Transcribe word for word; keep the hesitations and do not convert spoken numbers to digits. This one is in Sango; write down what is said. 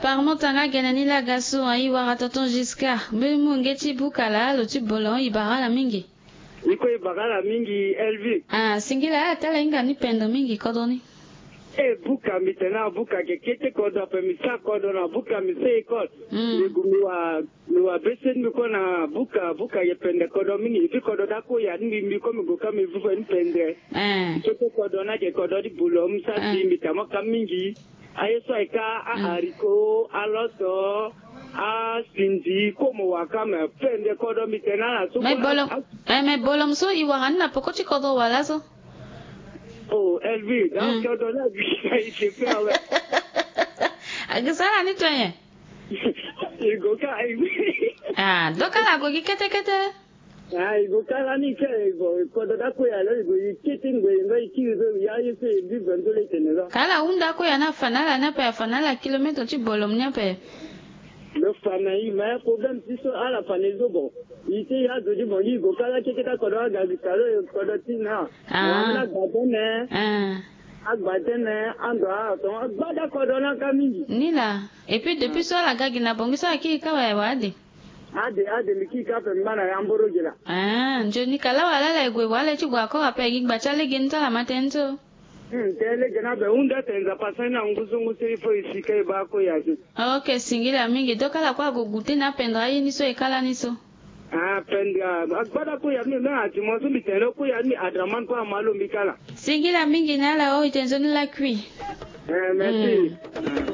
Parmon tanga gene ni laga so ayi wara tonton Giscard. Mbi mu nge ti buka laa lo ti bolo i bara ala mingi. I kue i bara ala mingi Elvi. Ah, singila ala tala hinga ni pendre mingi kodro ni. E buka mbi tene na buka ke kete kodro ape mbi sa kodro na buka mbi sa école. Mm. Mbi gu mbi wa mbi wa bese mbi kue na buka buka ye pendre kodro mingi mbi kodro da kue ya ni mbi mbi kue mbi gu ka mbi vuve ni pendre. Eh. Kete kodro na ke kodro di bolo mbi sa si mbi tama ka mingi. Aye so aye ka a haricot, a loso, a sindi, komo wa ka me pende kodro mbi tene na so. Me bolo, eh, me bolo so i wara ni na poko ti kodro wala so. Oh, Elvi, donc kodro na bi i te pe awe. Agi sara ni to ye. I go ka, i go. Ah, donc ala go gi kete kete. Ah, i go kala ni ke, i go kodro da kue ya lo i go i kete ngbe i ngba i kiri so ya ye so i bi vendo le tene so. Kala hunda kue ya na fanala na pe fanala kilomètre ti bolom ni ape. Lo fa na i ma ya problème ti so ala fa na i so bon. I te ya zo di bon i go kala keke ta kodro aga gi kalo kodro ti na. Ah. Wa na gba tene. Ah. Agba tene ando a ton agba da kodro na ka mingi. Ni la. Et puis depuis so ala ga gi na bongi so aki ka wa wa de. Ade ade mbi kiri ka ape mbi baa na ya mboro gi laa. Ah, nzoni kala wala ala e gue wala e ti gue akora ape gi gba ti alege ni ti ala ma tënë so. Hmm, tënë lege ni abe hunda tene Nzapa asara ni na ngu so ngu so il faut e si ka e baa kue ya so. Ok, singila mingi. Donc ala kue ague goûter na apendre aye ni so e kala ni so. Ah, pendre ah, agbada kue ya ni me me ati mo so mbi tene lo kue ya ni mbi Adraman kue ama lo mbi kala. Singila mingi na ala o e tene nzoni lakui. Eh, merci. Hmm.